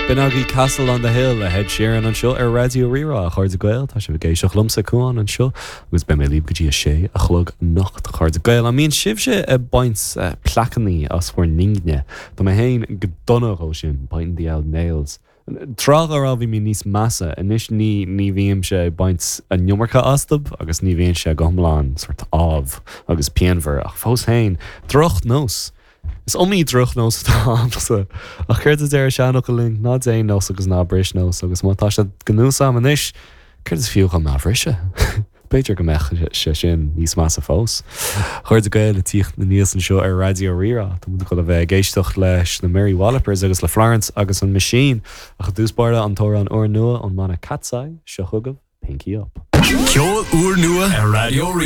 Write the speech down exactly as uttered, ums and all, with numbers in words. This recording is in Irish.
B'in agaibh Castle on the Hill le Ed Sheeran anseo ar Raidió Rí-Rá a chairde Gael tá sibh ag éisteacht liomsa Cuán anseo agus beidh mé libh go dtí a sé a chlog anocht a chairde Gael an mbíonn sibhse ag baint uh, plaiceanna as bhur n-ingne Tá mé féin go dona dhó sin biting the old nails. Tráth dá raibh bhí mé níos measa anois ní ní bhímse ag baint an iomarca astu agus ní bhíonn sé go hiomlán sort ámh agus pianmhar ach fós féin drochnós. Is iomaí drochnós atá agamsa ach céard a deir seanfhocal linn ná déan nós agus ná bris nós agus má tá sé go núsam anois, céard is fiú chun ná bhriseadh. B'fhéidir go mbeadh sé sin níos measa fós. Chairde Gael ag tíocht aníos anseo ar Raidió Rí-Rá Tá go le bheith ag éisteacht leis na Mary Wallopers agus le Florence agus an Machine ach dtús báire an t-amhrán úrnua ón mbanna Katseye seo chugaibh Pinky Up. Ceol úrnua ar Raidió